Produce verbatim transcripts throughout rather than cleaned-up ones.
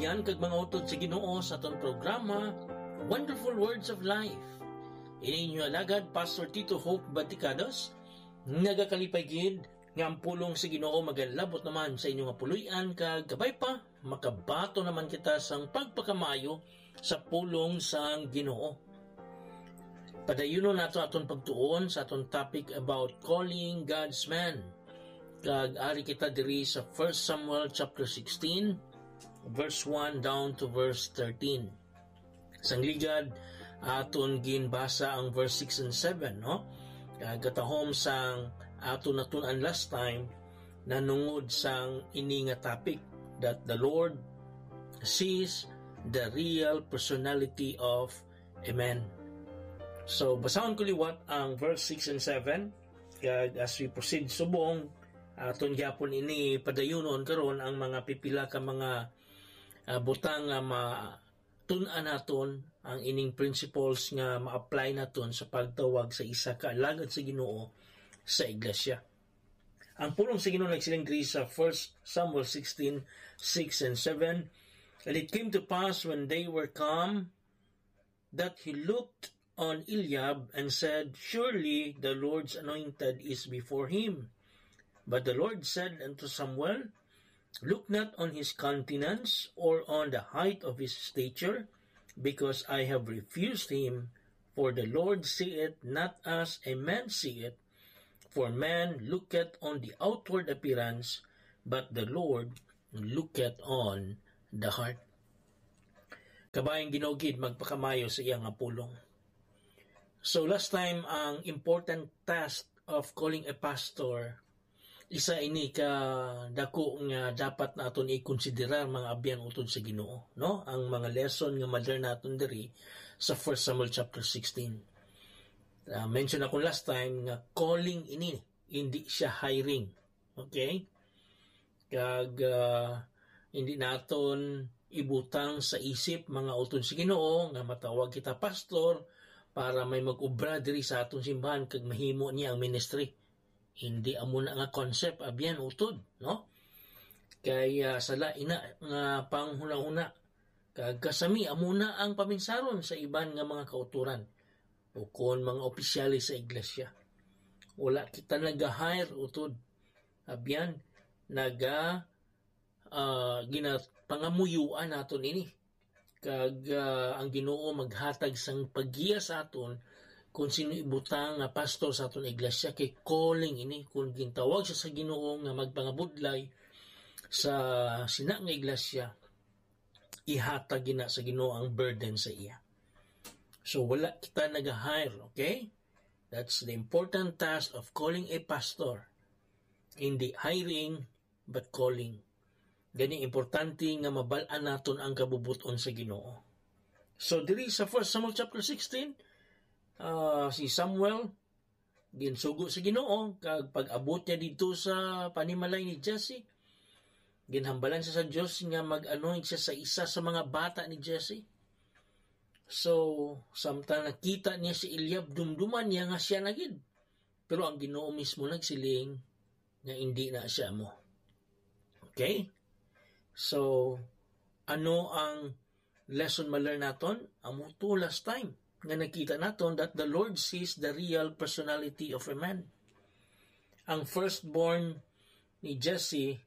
Yan kag mga utod sa Ginoo sa aton programa, Wonderful Words of Life. Ini inyo alagad, Pastor Tito Hope Baticados, nagakalipay gid nga ang pulong sa Ginoo magalabot naman sa inyo nga puloy-an, kag kabay pa, makabaton naman kita sang pagpakamayo sa pulong sang Ginoo. Padayunon nato aton pagtuon sa aton topic about calling God's man. Kag ari kita diri sa First Samuel chapter sixteen, verse one down to verse thirteen. Sang ligad, aton ginbasa ang verse six and seven, no? Kag katahom sang aton natun-an last time, nanungod sang ini nga topic, that the Lord sees the real personality of a man. So, basahon ko liwat ang verse six and seven, kag as we proceed subong, aton gyapon ini padayunon karon ang mga pipila ka mga, ah, butang nga matun-an naton ang ining principles nga ma-apply naton sa pagtawag sa isa ka alagad sa Ginoo sa iglesia. Ang pulong sa Ginoo nagsiling diri sa First Samuel sixteen, six and seven, "And it came to pass when they were come, that he looked on Eliab and said, 'Surely the Lord's anointed is before him.' But the Lord said unto Samuel, 'Look not on his countenance or on the height of his stature, because I have refused him. For the Lord seeth not as a man seeth, for man looketh on the outward appearance, but the Lord looketh on the heart.'" Kabayang Ginoo gid magpakamayo sa iya nga pulong. So last time, ang important task of calling a pastor, isa ini ka dako nga dapat naton i-considerar, mga abyan utod sa Ginoo, no? Ang mga lesson nga ma-learn naton diri sa First Samuel chapter sixteen. Ah, mention ako last time nga calling ini, hindi siya hiring. Okay? Kag, ah, hindi naton ibutang sa isip, mga utod sa Ginoo, nga matawag kita pastor para may mag-obra diri sa aton simbahan kag mahimo niya ang ministry. Hindi amo na nga concept, abyan utod, no? Kay, ah, sala ina nga panghunahuna. Kag kasami amo na ang paminsaron sa iban nga mga kautoran o kon mga opisyales sa iglesia. Wala kita naga-hire utod. Abyan, naga, ah, ginapangamuyuan naton ini. Kag, ah, ang Ginoo maghatag sang paggiya sa aton kung sino ibutang nga pastor sa aton iglesia, kay calling ini. Kung gintawag siya sa Ginoo nga magpangabudlay sa sina nga iglesia, ihatag gina sa Ginoo ang burden sa iya. So, wala kita naga-hire, okay? That's the important task of calling a pastor. Hindi hiring, but calling. Gani, importante nga mabal-an naton ang kabubot-on sa Ginoo. So, diri sa First Samuel chapter sixteen, ah, si Samuel, ginsugo sa Ginoo, kag pag-abot niya didto sa panimalay ni Jesse, ginhambalan siya sa Dios nga mag-anoint siya sa isa sa mga bata ni Jesse. So, samtang nakita niya si Eliab, dumduman niya nga sia na gid. Pero ang Ginoo mismo nagsiling nga indi na sia amo. Okay? So, ano ang lesson ma-learn naton? Amo to last time nga nakita naton that the Lord sees the real personality of a man. Ang firstborn ni Jesse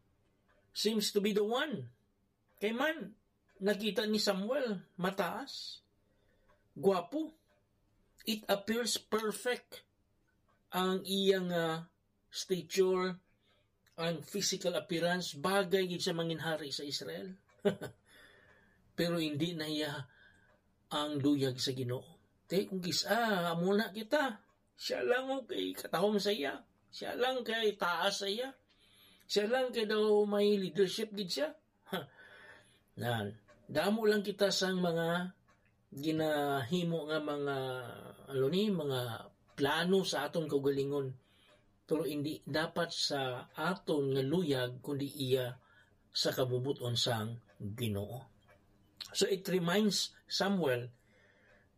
seems to be the one. Kay man, nakita ni Samuel, mataas, gwapo. It appears perfect ang iya nga stature, ang physical appearance, bagay gid siya mangin hari sa Israel. Pero hindi na iya ang luyag sa Ginoo. Te, kung kis-, ah, amo na kita. Siya lang, oh, kay katahom sa iya. Siya lang kay taas sa iya. Siya lang kay daw may leadership gid siya. Ha. Nan, damo lang kita sang mga ginahimo nga mga, ano ni, mga plano sa aton kaugalingon. Pero hindi dapat sa aton nga luyag, kundi iya sa kabubot-on sang Ginoo. So it reminds Samuel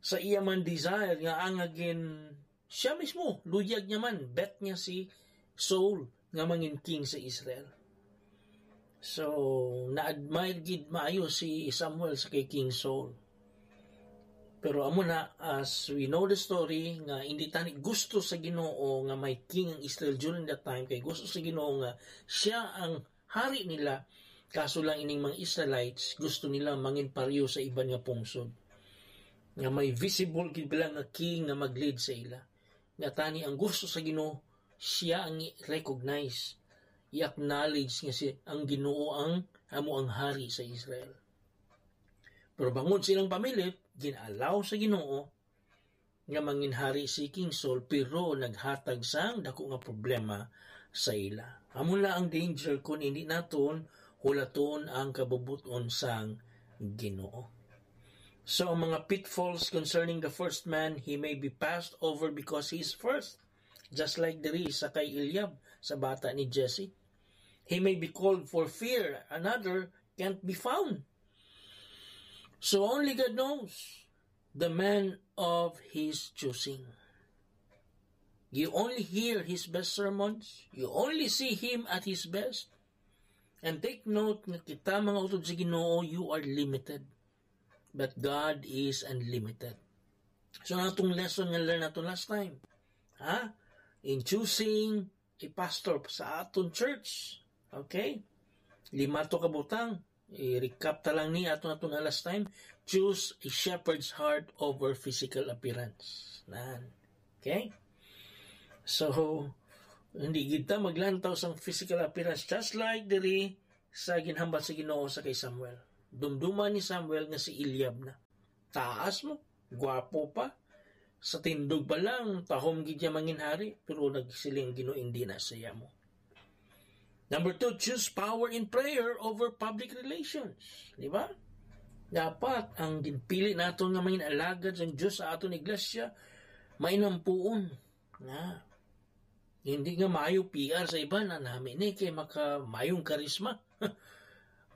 sa iya man desire nga ang agin siya mismo, luyag niya man, bet niya si Saul nga mangin king sa Israel. So, na-admire gid maayo si Samuel sa kay King Saul. Pero amo na, as we know the story, nga hindi tani gusto sa Ginoo nga may king ang Israel during that time, kay gusto sa Ginoo nga siya ang hari nila. Kaso lang, ining mga Israelites, gusto nila mangin pareho sa iban nga pungsod, nga may visible gid bala nga king nga mag-lead sa ila. Nga tani ang gusto sa Ginoo, siya ang i-recognize, i-acknowledge nga si, ang Ginoo ang amo ang hari sa Israel. Pero bangod sa ilang pamilit, gin-allow sa Ginoo nga manginhari si King Saul, pero naghatag sang dako nga problema sa ila. Amo na ang danger kung hindi naton hulaton ang kabubut-on sang Ginoo. So, ang mga pitfalls concerning the first man, he may be passed over because he is first. Just like diri sa kay Eliab, sa bata ni Jesse. He may be called for fear, another can't be found. So only God knows the man of his choosing. You only hear his best sermons. You only see him at his best. And take note nga kita, mga utod sa Ginoo, you are limited. But God is unlimited. So, natong lesson nga learn nato last time, ha? In choosing a pastor sa aton church. Okay? Lima to ka butang. I-recap ta lang ni ato nato na last time. Choose a shepherd's heart over physical appearance. Nan. Okay? So, hindi gid ta maglantaw sang physical appearance, just like diri sa ginhambal sa Ginoo sa kay Samuel. Dumduman ni Samuel nga si Eliab na. Taas mo, gwapo pa. Sa tindog pa lang, tahom gid niya manginhari, pero nagsiling ang Ginoo, "Hindi na siya mo." Number two, choose power in prayer over public relations. Di ba? Dapat ang ginpili naton nga mga alagad sang Dios sa aton iglesia, mainampuon nga hindi nga maayo P R sa iban, ang nami ni kay maka-, mayong karisma.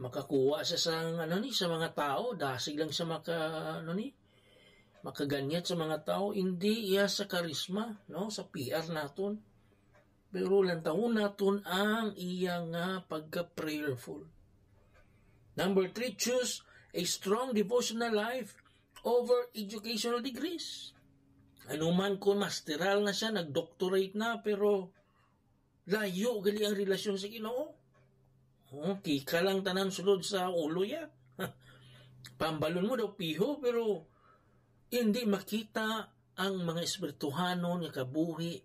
Makakuha siya sa, ano ni, sa mga tao, dasig lang sa maka, ano ni, makaganyat sa mga tao, hindi iya sa karisma, no, sa P R naton. Pero lantawon naton ang iya nga pagka-prayerful. Number three, choose a strong devotional life over educational degrees. Ano man kung masteral na siya, nag-doctorate na, pero layo gali ang relasyon sa Ginoo. Oh, kika lang tanan sulod sa ulo ya. Pambalon mo daw piho, pero hindi makita ang mga espirituhanon nga kabuhi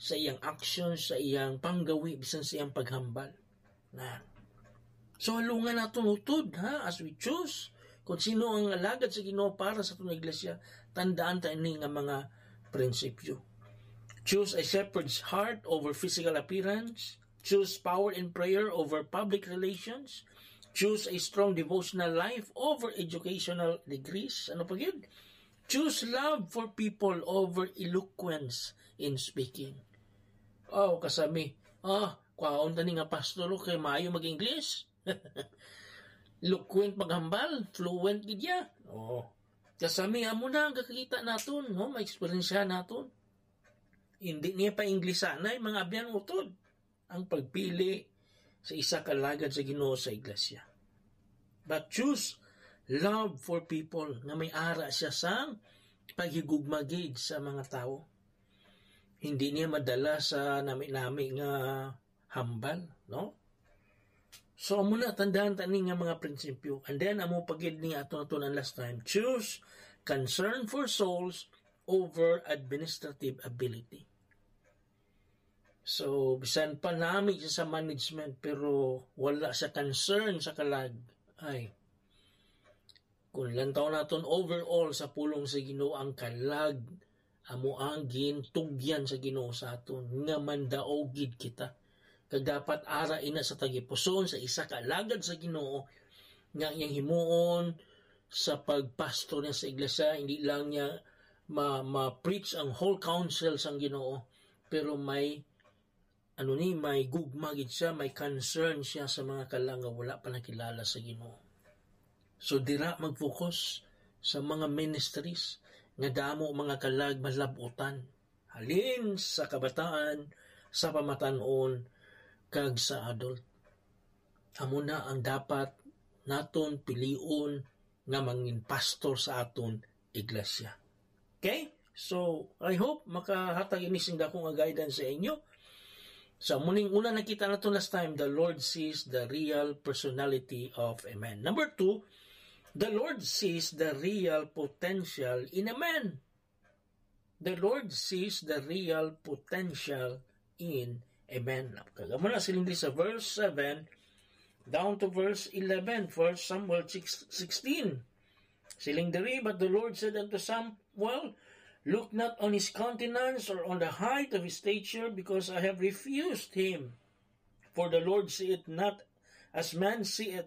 sa iyang action, sa iyang panggawi, bisan sa iyang paghambal. Na. So, halungan naton utod, ha, as we choose kung sino ang alagad sa Ginoo para sa aton iglesia, tandaan ta ini nga mga prinsipyo. Choose a shepherd's heart over physical appearance. Choose power in prayer over public relations. Choose a strong devotional life over educational degrees. Ano pa gyud? Choose love for people over eloquence in speaking. Oh, kasami. Ah, kwaon tani nga pastor, oh, kay maayo mag-English. Eloquent maghambal, fluent gid ya. Oh. Kasami amo na ang kakita naton, no? Ma-experience naton. Hindi niya pa Inglesanay, mga abyan utod, ang pagpili sa isa ka alagad sa Ginoo sa iglesia. But choose love for people nga may ara siya sang paghigugma gid sa mga tawo. Hindi niya madala sa nami-nami nga hambal, no? So, amo na, tandaan ta ni nga mga prinsipyo. And then, amo pa gid ni ato, ato na last time, choose concern for souls over administrative ability. So, bisan pa nami siya sa management, pero wala sa concern sa kalag, ay, kung lantaw naton overall sa pulong sa Ginoo, ang kalag amo ang gintugyan sa Ginoo sa aton nga mandaog gid kita. Kag dapat ara ina sa tagipuson sa isa ka alagad sa Ginoo nga iyang himuon sa pagpastor niya sa iglesia, hindi lang niya ma-, ma-preach ang whole counsel sang Ginoo, pero may, ano ni, may gugma gid siya, may concern siya sa mga kalang nga wala pa nakilala sa Ginoo. So, dira mag-focus sa mga ministries nga damo mga kalag malab-utan, halin sa kabataan, sa pamatan-on, kag sa adult. Amo na ang dapat naton pilion nga mangin pastor sa aton iglesia. Okay? So, I hope makahatag ini sing dako nga guidance sa inyo. Sa muning una nakita nato last time, the Lord sees the real personality of a man. Number two, the Lord sees the real potential in a man. The Lord sees the real potential in a man. Kag amo na siling diri sa verse seven down to verse eleven, First Samuel six sixteen. Siling diri, but the Lord said unto Samuel, "Look not on his countenance or on the height of his stature, because I have refused him. For the Lord seeth not as man seeth.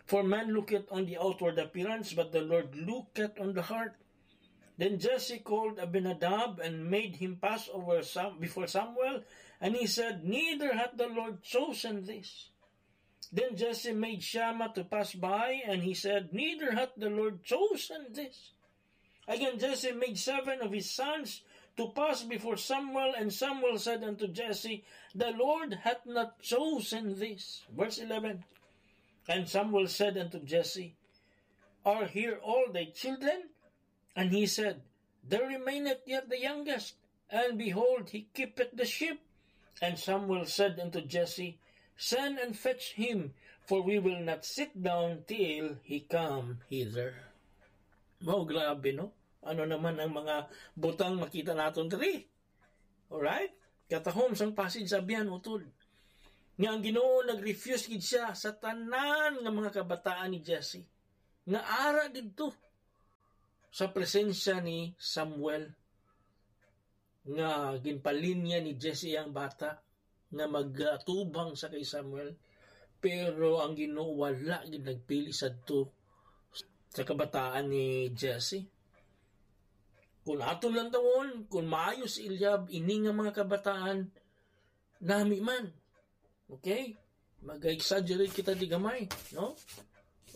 For man looketh on the outward appearance, but the Lord looketh on the heart." Then Jesse called Abinadab and made him pass over Sam- before Samuel, and he said, "Neither hath the Lord chosen this." Then Jesse made Shammah to pass by, and he said, "Neither hath the Lord chosen this." Again, Jesse made seven of his sons to pass before Samuel, and Samuel said unto Jesse, "The Lord hath not chosen this." Verse eleven. And Samuel said unto Jesse, "Are here all thy children?" And he said, "There remaineth yet the youngest, and behold, he keepeth the sheep." And Samuel said unto Jesse, "Send and fetch him, for we will not sit down till he come hither." Wow, grabe, no? Ano naman ang mga butang makita naton diri? Alright? Katahom sang passage sa biyan, utod. Nga ang Ginoo nag-refuse gid siya sa tanan nga mga kabataan ni Jesse. Nga ara didto sa presensya ni Samuel, nga ginpalinya ni Jesse ang bata nga magatubang sa kay Samuel. Pero ang Ginoo wala gid nagpili sadto sa kabataan ni Jesse. Kung aton lantawon, kung maayo si Eliab, ini nga mga kabataan, nami man. Okay? Mag-exaggerate kita di gamay, no?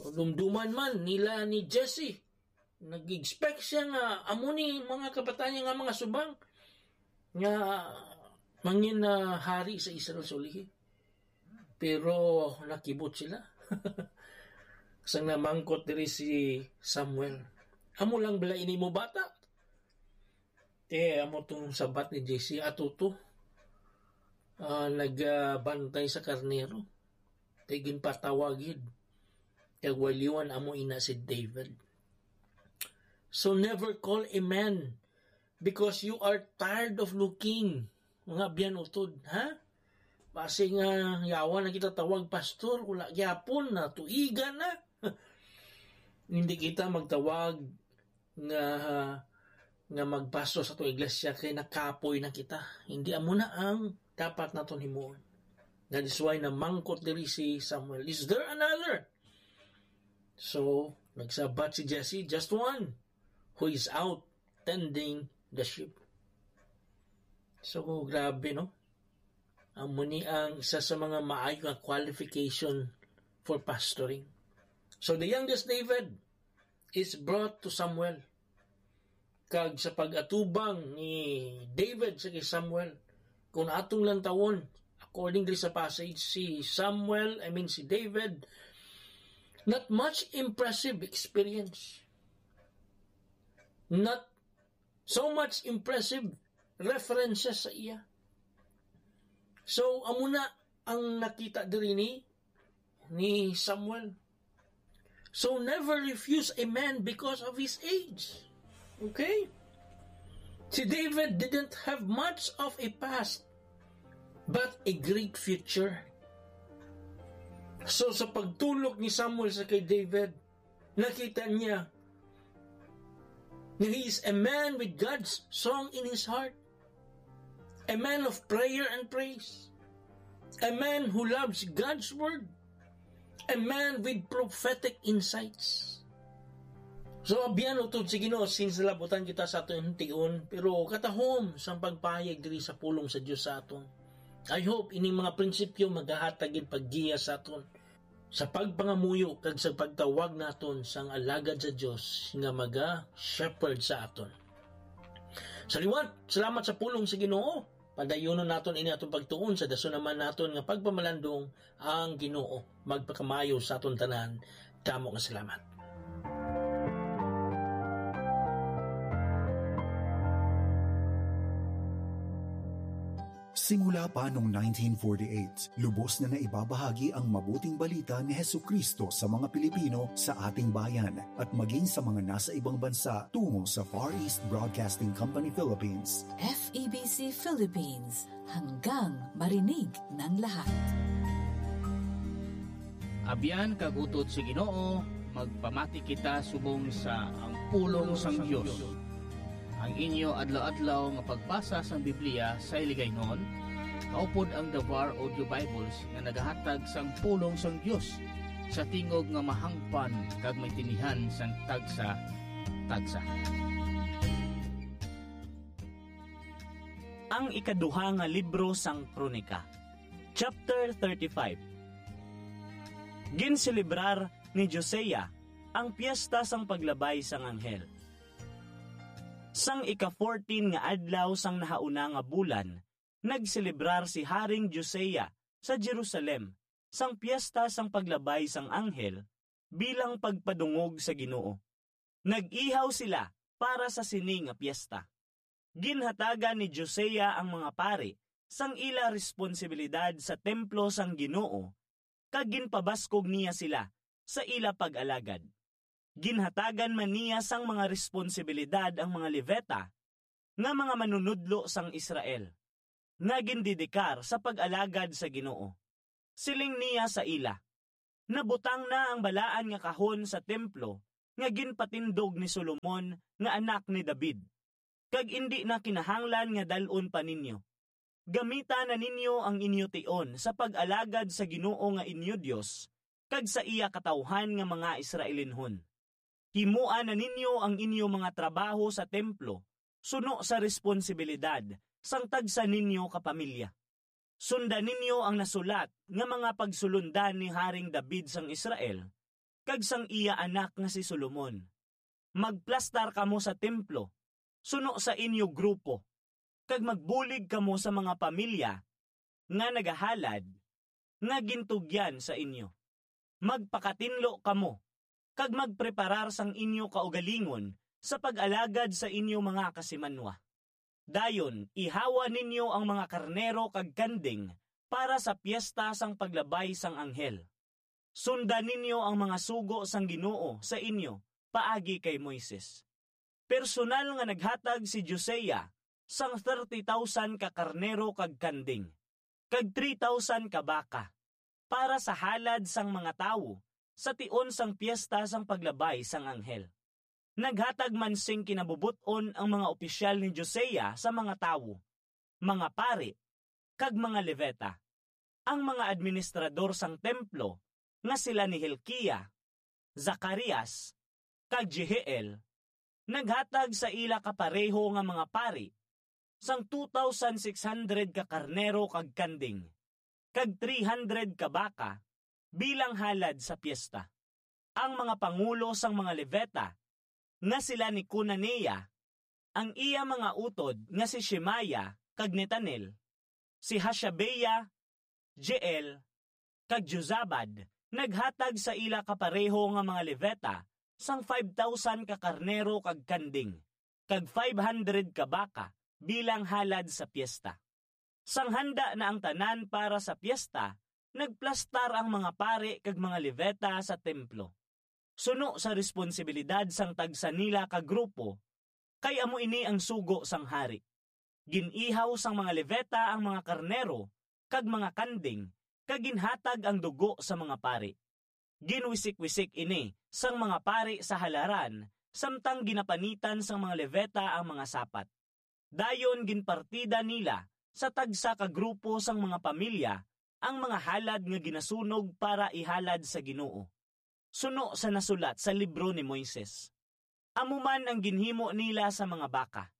O dumduman man nila ni Jesse. Nag-expect siya nga amo ni mga kabataan niya nga mga subang nga mangin na hari sa Israel sa ulihi. Pero nakibot sila. Sang namangkot diri si Samuel, "Amo lang bala ini mo bata?" Eh, amo tong sabat ni Jesse, "Ato to. Ah, nagbantay sa karnero. Kay ginpatawag gid. Kag waliwan amo ina si David." So never call a man because you are tired of looking. Mga biyan utod, ha? Basi nga yawa na kita tawag pastor, wala gyapon na, tuigan na. Hindi kita magtawag nga, nga magpastor sa atong iglesia kay nakapoy na kita. Hindi amo na ang dapat naton himuon. That is why namangkot diri si Samuel, "Is there another?" So, nagsabat si Jesse, "Just one who is out tending the sheep." So, grabe, no? Amo ni ang isa sa mga maayo nga qualification for pastoring. So, the youngest David is brought to Samuel. Kag sa pag-atubang ni David sa kay Samuel, kung atong lantawon, according diri sa passage, si Samuel, I mean si David, not much impressive experience. Not so much impressive references sa iya. So, amo na ang nakita diri ni, ni Samuel. So, never refuse a man because of his age. Okay? Si David didn't have much of a past, but a great future. So, sa pagtulok ni Samuel sa kay David, nakita niya nga he is a man with God's song in his heart, a man of prayer and praise, a man who loves God's word, a man with prophetic insights. So, abyan utod sa Ginoo, since nalabutan kita sa aton tion, pero katahom sang pagpahayag diri sa pulong sa Dios sa aton. I hope ini mga prinsipyo magahatag gid paggiya sa aton sa pagpangamuyo kag sa pagtawag naton sang alagad sa Dios nga maga-shepherd sa aton. Sa liwat, salamat sa pulong sa Ginoo. Padayunon naton ini aton pagtuon sa dason naman naton nga pagpamalandong ang Ginoo magpakamaayo sa aton tanan. Damo nga salamat. Simula pa noong nineteen forty-eight, lubos na naibabahagi ang mabuting balita ni Jesucristo sa mga Pilipino sa ating bayan at maging sa mga nasa ibang bansa tungo sa Far East Broadcasting Company Philippines. F E B C Philippines, hanggang marinig ng lahat. Abyan kag utod sa Ginoo, magpamati kita subong sa ang pulong sang Dios. Ang inyo adlaw-adlaw nga pagbasa sang Biblia sa Hiligaynon, kaupod ang Davar Audio Bibles nga nagahatag sang pulong sang Dios sa tingog nga mahangpan kag may tinihan sang tagsa-tagsa. Ang ikaduha nga libro sang Kronika, chapter thirty-five. Ginselebrar ni Josiah ang Piyesta sang Paglabay sang Anghel. Sang ika-fourteen nga adlaw sang nahauna nga bulan, nagselebrar si Haring Josiah sa Jerusalem sang Piyesta sang Paglabay sang Anghel bilang pagpadungog sa Ginoo. Nag-ihaw sila para sa sini nga piyesta. Ginhatagan ni Josiah ang mga pari sang ila responsibilidad sa templo sang Ginoo, kag ginpabaskog niya sila sa ila pag-alagad. Ginhatagan man niya sang mga responsibilidad ang mga Levita, nga mga manunodlo sang Israel, nga gindedikar sa pag-alagad sa Ginoo. Siling niya sa ila, "Nabutang na ang balaan nga kahon sa templo nga ginpatindog ni Solomon nga anak ni David, kag indi na kinahanglan nga dal-on pa ninyo. Gamita na ninyo ang inyo tion sa pag-alagad sa Ginoo nga inyo Dios kag sa iya katawuhan nga mga Israelinhon. Himoa na ninyo ang inyo mga trabaho sa templo suno sa responsibilidad sang tagsa ninyo ka pamilya. Sunda ninyo ang nasulat nga mga pagsulondan ni Haring David sang Israel kag sang iya anak nga si Solomon. Magplastar kamo sa templo suno sa inyo grupo, kag magbulig kamo sa mga pamilya nga nagahalad nga gintugyan sa inyo. Magpakatinlo kamo, kag magpreparar sang inyo kaugalingon sa pag-alagad sa inyo mga kasimanwa. Dayon ihawa ninyo ang mga karnero kag kanding para sa Piyesta sang Paglabay sang Anghel. Sunda ninyo ang mga sugo sang Ginoo sa inyo paagi kay Moises. Personal nga naghatag si Josiah sang thirty thousand ka karnero kag kanding, kag three thousand ka baka, para sa halad sang mga tawo sa tion sang Piyesta sang Paglabay sang Anghel. Naghatag man sing kinabubot-on ang mga opisyal ni Josiah sa mga tawo, mga pari, kag mga Levita. Ang mga administrador sang templo, nga sila ni Hilkiah, Zacarias, kag Jehiel, naghatag sa ila kapareho nga mga pari sang two thousand six hundred ka karnero kag kanding, kag three hundred ka baka bilang halad sa piyesta. Ang mga pangulo sang mga Levita, nga sila ni Conaniah, ang iya mga utod nga si Shemaiah kag Netanel, si Hashabiah, Jeiel, kag Jozabad naghatag sa ila kapareho nga mga Levita sang five thousand ka karnero kag kanding, kag five hundred ka baka bilang halad sa piyesta. Sang handa na ang tanan para sa piyesta, nagplastar ang mga pari kag mga Levita sa templo, suno sa responsibilidad sang tagsa nila ka grupo, kay amo ini ang sugo sang hari. Gin-ihaw sang mga Levita ang mga karnero kag mga kanding, kag ginhatag ang dugo sa mga pari. Ginwisik-wisik ini sang mga pari sa halaran, samtang ginapanitan sang mga Levita ang mga sapat. Dayon ginpartida nila sa tagsa ka grupo sang mga pamilya ang mga halad nga ginasunog para ihalad sa Ginoo, suno sa nasulat sa libro ni Moises. Amo man ang ginhimo nila sa mga baka.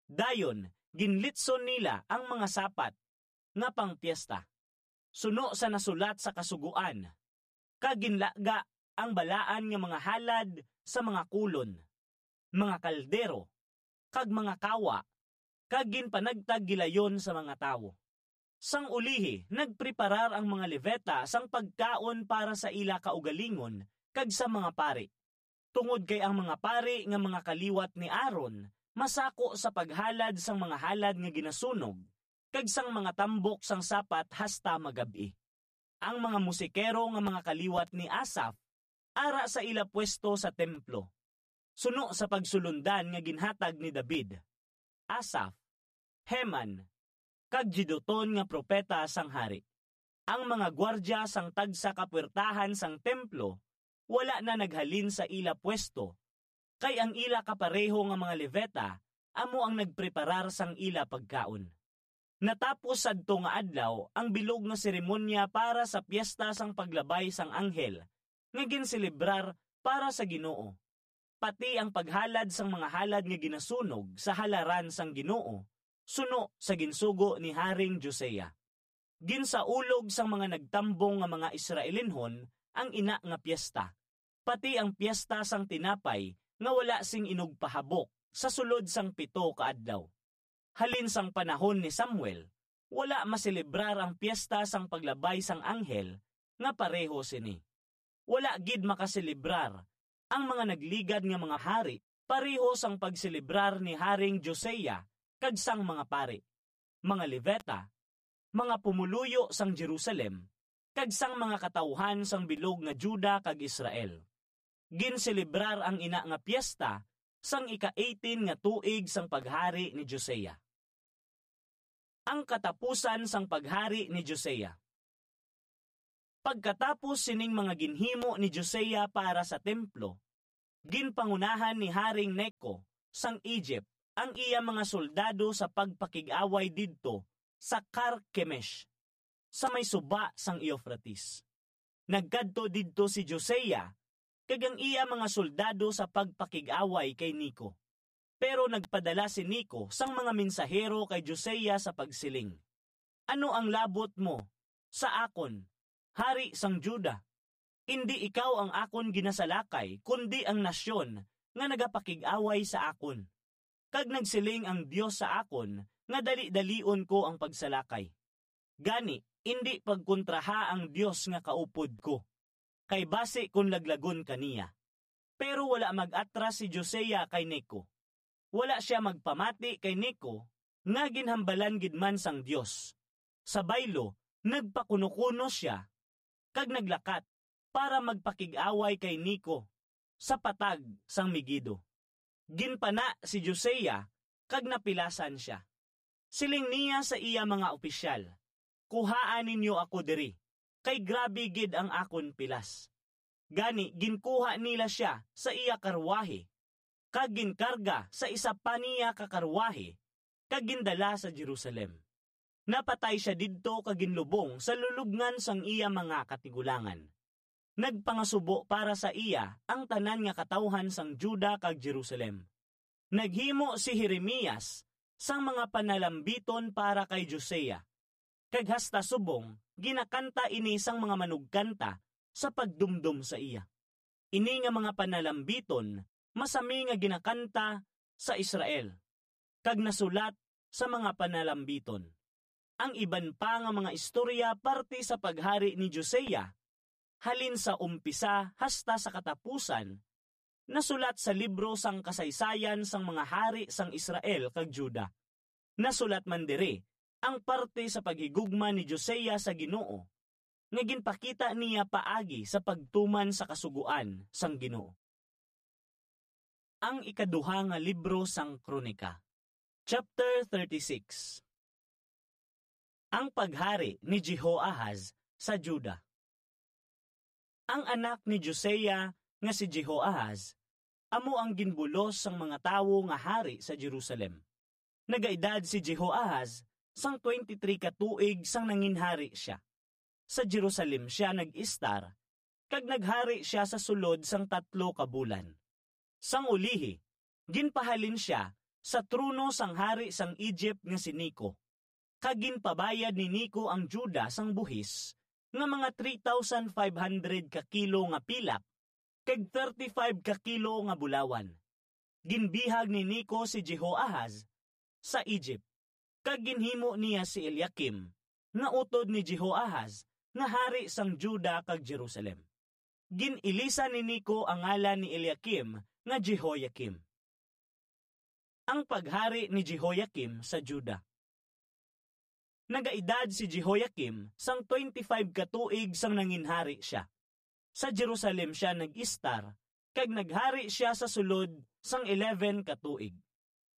Dayon ginlitson nila ang mga sapat nga pangpiesta, suno sa nasulat sa Kasugoan, kag ginlaga ang balaan nga mga halad sa mga kulon, mga kaldero, kag mga kawa, kag ginpanagtag gilayon sa mga tawo. Sang ulihi, nagpreparar ang mga Levita sang pagkaon para sa ila kaugalingon kag sa mga pari, tungod kay ang mga pari nga mga kaliwat ni Aaron masako sa paghalad sang mga halad nga ginasunog kag sang mga tambok sang sapat hasta magab-i. Ang mga musikero nga mga kaliwat ni Asaf ara sa ila pwesto sa templo, suno sa pagsulondan nga ginhatag ni David, Asaf, Heman, kag Jeduthun nga propeta sang hari. Ang mga gwardya sang tagsa ka puwertahan sang templo wala na naghalin sa ila pwesto, kay ang ila kapareho nga mga Levita amo ang nagpreparar sang ila pagkaon. Natapos sadto nga adlaw ang bilog nga seremonya para sa Piesta sang Paglabay sang Anghel nga ginselebrar para sa Ginoo, pati ang paghalad sang mga halad nga ginasunog sa halaran sang Ginoo, suno sa ginsugo ni Haring Josiah. Ginsaulog sang mga nagtambong nga mga Israelinhon ang ina nga piesta, pati ang Piesta sang Tinapay nga wala sing inugpahabok sa sulod sang pito ka adlaw. Halin sang panahon ni Samuel, wala maselebrar ang Piesta sang Paglabay sang Anghel nga pareho sini. Wala gid makaselebrar ang mga nagligad nga mga hari pareho sang pagselebrar ni Haring Josiah kag sang mga pari, mga Levita, mga pumoluyo sang Jerusalem, kag sang mga katawuhan sang bilog nga Juda kag Israel. Ginselebrar ang ina nga piesta sang ika-eighteen nga tuig sang paghari ni Josiah. Ang katapusan sang paghari ni Josiah. Pagkatapos sining mga ginhimo ni Josiah para sa templo, ginpangunahan ni Haring Neco sang Egypt ang iya mga soldado sa pagpakig-away didto sa Carchemish, sa may suba sang Euphrates. Nagkadto didto si Josiah kag ang iya mga soldado sa pagpakig-away kay Neco. Pero nagpadala si Neco sang mga mensahero kay Josiah sa pagsiling, "Ano ang labot mo sa akon, hari sang Juda? Indi ikaw ang akon ginasalakay, kundi ang nasyon nga nagapakig-away sa akon. Kag nagsiling ang Dios sa akon nga dali-dalion ko ang pagsalakay. Gani, indi pagkontraha ang Dios nga kaupod ko, kay basi kon laglagon ka niya." Pero wala mag-atras si Josiah kay Neco. Wala sia magpamati kay Neco nga ginhambalan gid man sang Dios. Sa baylo, nagpakunokuno sia kag naglakat para magpakig-away kay Neco sa patag sang Megido. Ginpana si Josiah kag napilasan sia. Siling niya sa iya mga opisyal, "Kuhaa ninyo ako diri, kay grabe gid ang akon pilas." Gani, ginkuha nila sia sa iya karwahe, kag ginkarga sa isa pa niya ka karwahe, kag gindala sa Jerusalem. Napatay sia didto kag ginlubong sa lulubngan sang iya mga katigulangan. Nagpangasubo para sa iya ang tanan nga katawuhan sang Juda kag Jerusalem. Naghimo si Jeremias sang mga panalambiton para kay Josiah, kag hasta subong ginakanta ini sang mga manugkanta sa pagdumdom sa iya. Ini nga mga panalambiton masami nga ginakanta sa Israel, kag nasulat sa mga panalambiton. Ang iban pa nga mga istorya parte sa paghari ni Josiah, halin sa umpisa hasta sa katapusan, nasulat sa libro sang kasaysayan sang mga hari sang Israel kag Juda. Nasulat man diri ang parte sa paghigugma ni Josiah sa Ginoo, nga ginpakita niya paagi sa pagtuman sa Kasugoan sang Ginoo. Ang ikaduha nga libro sang Kronika, chapter thirty-six. Ang paghari ni Jehoahaz sa Juda. Ang anak ni Josiah nga si Jehoahaz amo ang ginbulos sang mga tawo nga hari sa Jerusalem. Nagaedad si Jehoahaz sang twenty-three ka tuig sang nanginhari sia. Sa Jerusalem sia nag-istar, kag naghari sia sa sulod sang tatlo ka bulan. Sang ulihi, ginpahalin sia sa trono sang hari sang Egypt nga si Neco, kag ginpabayad ni Neco ang Juda sang buhis nga mga three thousand five hundred ka kilo nga pilak kag thirty-five ka kilo nga bulawan. Ginbihag ni Neco si Jehoahaz sa Egypt, kag ginhimo niya si Eliakim nga utod ni Jehoahaz nga hari sang Juda kag Jerusalem. Gin-ilisan ni Neco ang ngalan ni Eliakim nga Jehoiakim. Ang paghari ni Jehoiakim sa Juda. Nagaedad si Jehoiakim sang twenty-five ka tuig sang nanginhari sia. Sa Jerusalem sia nag-istar, kag naghari sia sa sulod sang eleven ka tuig.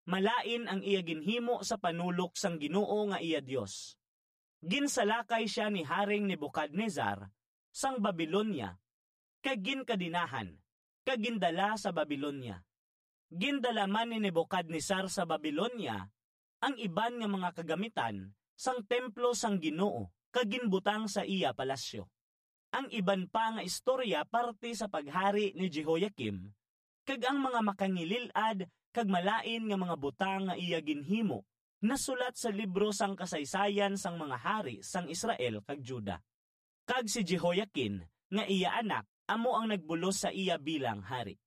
Malain ang iya ginhimo sa panulok sang Ginoo nga iya Dios. Ginsalakay sia ni Haring Nebukadnezar sang Babilonia, kag ginkadenahan, kag gindala sa Babilonia. Gindala man ni Nebukadnezar sa Babilonia ang iban nga mga kagamitan sang templo sang Ginoo kag ginbutang sa iya palasyo. Ang iban pa nga istorya parte sa paghari ni Jehoiakim, kag ang mga makangilil-ad kag malain nga mga butang nga iya ginhimo nasulat sa libro sang kasaysayan sang mga hari sang Israel kag Juda. Kag si Jehoiakin nga iya anak amo ang nagbulos sa iya bilang hari.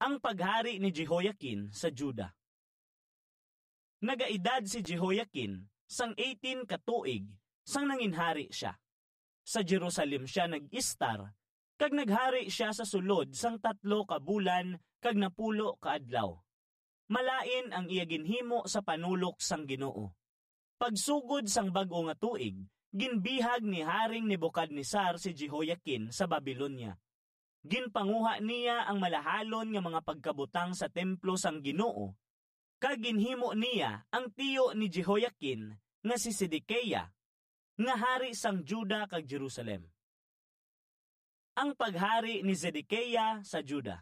Ang paghari ni Jehoiakin sa Juda. Nagaedad si Jehoiakin sang eighteen ka tuig sang nanginhari sia. Sa Jerusalem sia nag-istar, kag naghari sia sa sulod sang tatlo ka bulan kag napulo ka adlaw. Malain ang iya ginhimo sa panulok sang Ginoo. Pagsugod sang bag-o nga tuig, ginbihag ni Haring Nebukadnesar si Jehoiakin sa Babilonia. Ginpanguha niya ang malahalon nga mga pagkabutang sa templo sang Ginoo, kag ginhimo niya ang tiyo ni Jehoiakin nga si Sedekia nga hari sang Juda kag Jerusalem. Ang paghari ni Zedekia sa Juda.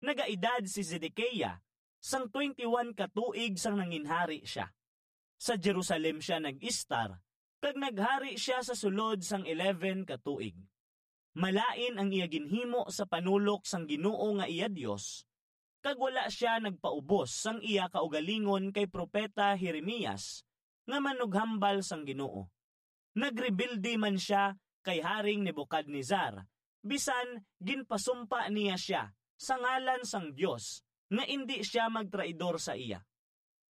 Nagaedad si Zedekia sang twenty-one ka tuig sang nanginhari sia. Sa Jerusalem sia nag-istar, kag naghari sia sa sulod sang eleven ka tuig. Malain ang iya ginhimo sa panulok sang Ginoo nga iya Dios, kag wala sia nagpaubos sang iya kaugalingon kay propeta Jeremias nga manughambal sang Ginoo. Nagrebelde man sia kay Haring Nebukadnezar, bisan ginpasumpa niya sia sa ngalan sang Dios nga indi sia magtraidor sa iya.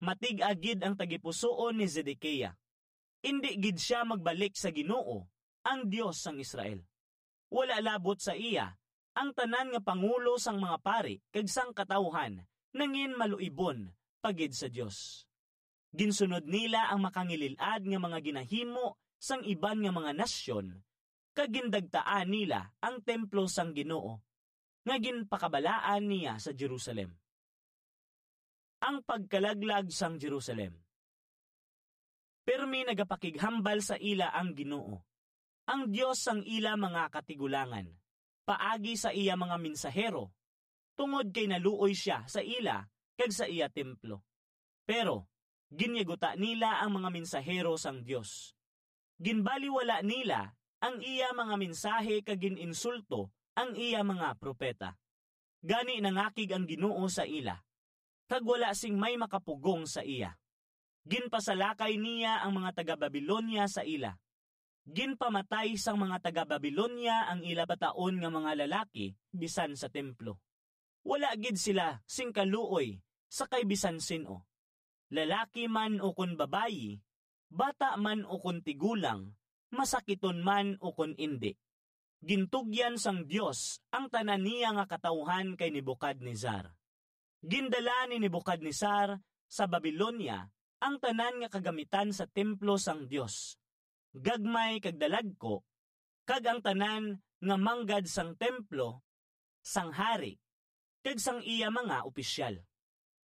Matig-a gid ang tagipusoon ni Zedekia. Indi gid sia magbalik sa Ginoo, ang Dios sang Israel. Wala labot sa iya ang tanan nga pangulo sang mga pari kag sang katawuhan nangin maluibon pa gid sa Dios. Ginsunod nila ang makangilil-ad nga mga ginahimo sang iban nga mga nasyon, kag gindagtaan nila ang templo sang Ginoo nga ginpakabalaan niya sa Jerusalem. Ang pagkalaglag sang Jerusalem. Pirmi nagapakighambal sa ila ang Ginoo, ang Dios sang ila mga katigulangan, paagi sa iya mga mensahero, tungod kay naluoy sia sa ila kag sa iya templo. Pero ginyaguta nila ang mga mensahero sang Dios. Ginbaliwala nila ang iya mga mensahe kag gin-insulto ang iya mga propeta. Gani nangakig ang Ginoo sa ila, kag wala sing may makapugong sa iya. Ginpasalakay niya ang mga taga-Babilonia sa ila. Ginpamatay sang mga taga-Babilonia ang ila bataon nga mga lalaki bisan sa templo. Wala gid sila sing kaluoy sa kay bisan sin-o, lalaki man ukon babayi, bata man ukon tigulang, masakiton man ukon indi. Gintugyan sang Dios ang tanan niya nga katawuhan kay Nebukadnezar. Gindala ni Nebukadnezar sa Babilonia ang tanan nga kagamitan sa templo sang Dios, gagmay kag dalagko, kag ang tanan nga manggad sang templo sang hari kag sang iya mga opisyal.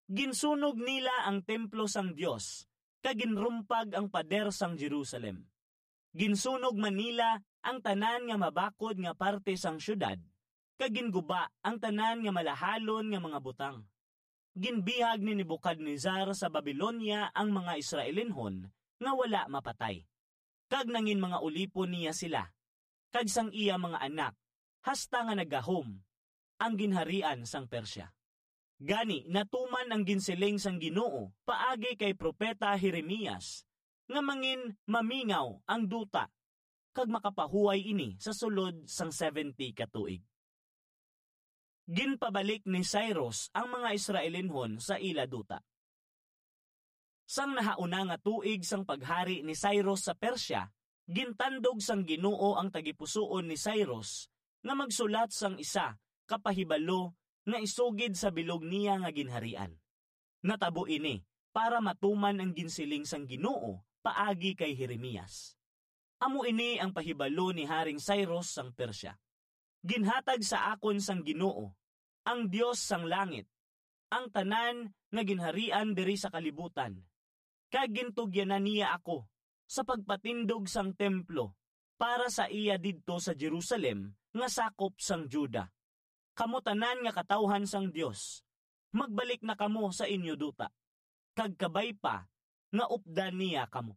Ginsunog nila ang templo sang Dios kag ginrumpag ang pader sang Jerusalem. Ginsunog man nila ang tanan nga mabakod nga parte sang siyudad, kag ginguba ang tanan nga malahalon nga mga butang. Ginbihag ni Nebukadnezar sa Babilonia ang mga Israelinhon nga wala mapatay, kag nangin mga ulipon niya sila kag sang iya mga anak, hasta nga naggahom ang ginharian sang Persia. Gani, natuman ang ginsiling sang Ginoo paagi kay propeta Jeremias, nga mangin mamingaw ang duta, kag makapahuway ini sa sulod sang seventy ka tuig. Ginpabalik ni Cyrus ang mga Israelinhon sa ila duta. Sang nahauna nga tuig sang paghari ni Cyrus sa Persia, gintandog sang Ginoo ang tagipusoon ni Cyrus nga magsulat sang isa ka pahibalo nga isugid sa bilog niya nga ginharian. Natabo ini para matuman ang ginsiling sang Ginoo paagi kay Jeremias. Amo ini ang pahibalo ni Haring Cyrus sang Persia. Ginhatag sa akon sang Ginoo, ang Dios sang langit, ang tanan nga ginharian diri sa kalibutan, kag gintugyanan niya ako sa pagpatindog sang templo para sa iya didto sa Jerusalem nga sakop sang Juda. Kamo tanan nga katawhan sang Dios, magbalik na kamo sa inyo duta, kag kabay pa nga updan niya kamo.